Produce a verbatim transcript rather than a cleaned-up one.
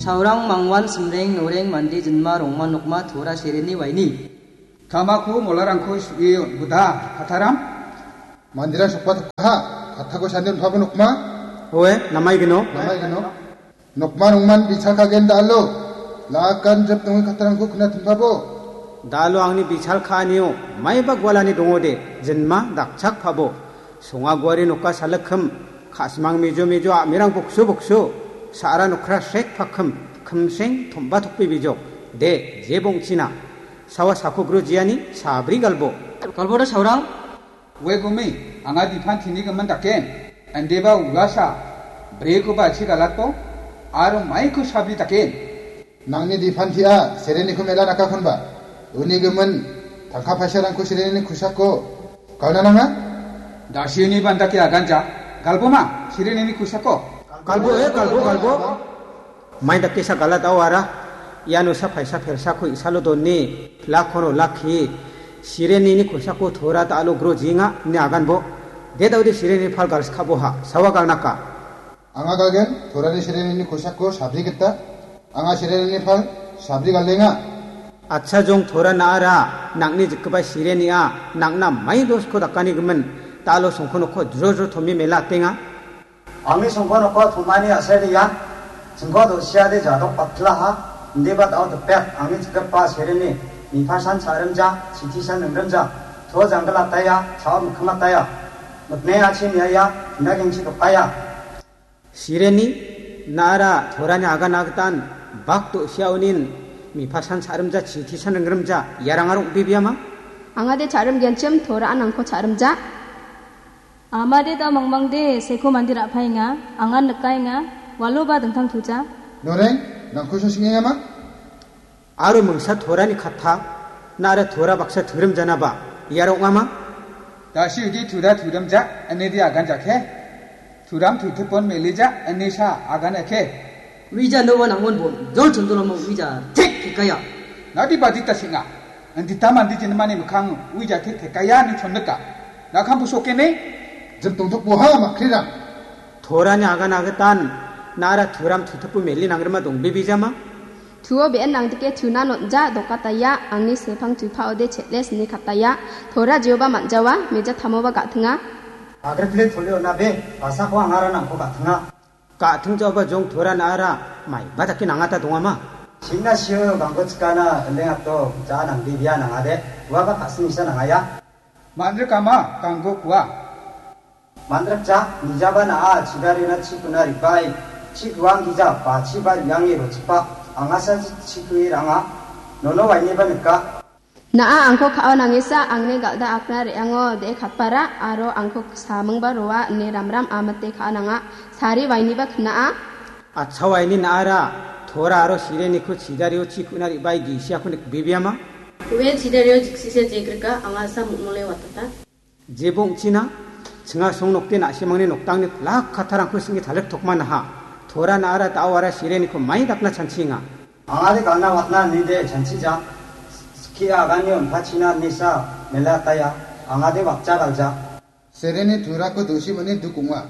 Saurang mangwan simreng noreng mande jinma rongma nokma tora sereni waini. Tamako molarangko su·e on·boda, kataram? Manderang sokba tokha, katako sande on·pabo nokma. Oe, namai gino. Namai gino. Nokma nongman bichal kagen dalo. Lakan jep nongi katarangko kena tinpabo. Dalo angni bichal ka·anio maiba gualani dongode, jinma dakchak pabo. Songa guari noka salikkim, ka·simang mijo mijo amirang bokso bokso, sa·ra nokra srek pakkim, kimseng tomba tokbe bijok. De, je bongchina. Sawa sako gro jiani, sabri galbo. Galbo da saurang? Ue gumi, anga dipan tini gimin daken. Andeba uasa, brekoba achi galatbo, aro maiko sabri daken. Nangni dipantia sereniko mela nakakonba. Uni gimin tangka paisarangko serenini kusako galna nanga? Dasiuni bandake aganja, galboma serenini kusako. Galbo, eh, galbo, galbo. Mai dakesa galat awara. Iano sa paisa persako isalo doni. Lakono lakhi. Serenini kusako tora dalo gro jinga ni aganbo. Dedaude sereni pal galskabo ha. Sawa galnaka. Anga galgen, Torani serenini kosako sabri gita. Anga serenini pal sabri galenga. Acha jong Tora na·ara, nang·ni jikgipa serenia, nang·na mai dosko dakani gimin, dalo songkonoko jro jro tomi mela atenga. Angni songkonoko tomani a·sel de·a, chingko do·sia de jadok batlaha, indiba dao dipet, angni jikgipa sereni, nipasan charimja, sitisan ringrimja, to janggil ataia, chao mikkim ataia, mikne achi niaia, ina gengchi dokaia. Sireni, na·ara Torani agan agitan bak do·siaonin mipasan cha·rimja, chitisan ringrimja, iarang aro ong·bibiama? Angade cha·rimgenchim Toraan angko cha·rimja. Amade da mangmangde seko mande ra·paenga, angan nikaenga, waloba dingtang tuja. Noreng, nangko sosingengama? Aro mingsa Torani katta, na·ara Tora baksa turim janaba, iara ong·ama? Dasi ugi Tora turim ja, anedi agan jake. Turam tutipon melija, anisa agan ake. Wija noa nangon bon, jol chondolamo wija, tek kekaya. Nadi badita singa, andita mandi jinmani mikang wija tek kekaya ni chondika. Nakam busokene? Jemtongtok boha makrirang. Torani agan agitan, na·ara Turam tutipo meli nangrima dongbebijama? Tuo be·en nangdike tuna nonja dokataia, angni sepang tupaode chetles ni kataia, Tora Jehoba man·jawa, meja tamoba ga·tinga. Agriple tolio nabe, basako angara nangko ga·tinga. Ga·ting jaoba jong Tora na·ara, maiba dake nangata dongama? Singna sio ganggo chikana, eleng ato, ja nangdebia nangade, uaba ka·sing isa nangaya. Man·rikama, ganggo kua. Man·rikja, nijaba na·a, chidarena chikuna ribai, chikuang gija, bachiba riange rochipa, angasa chikue ranga, nono waineba nika. Na·a angko ka·o nangesa, angni galda akna re·ango de·e katbara, aro angko samingba roa, ine ramram amate ka·a nanga, sari wainiba kna·a. Atsa waini na·ara, Tora aro Sireniko chidario chikuna ribai gisiako nikbibiama? Ue chidario jiksise jegrika, angasa mokmole watata. Jebo ong·china, chinga song nokde na·simangni noktangni plak kattarangko sing·e talektokma naha. Tora na·ara da·o ara Sireniko mai dakna chanchienga. Angade galna watna nide chanchija. Skie agani on·pachina nisa melataya. Angade wakja galja. Sereni Torako dosimani duk ong·a.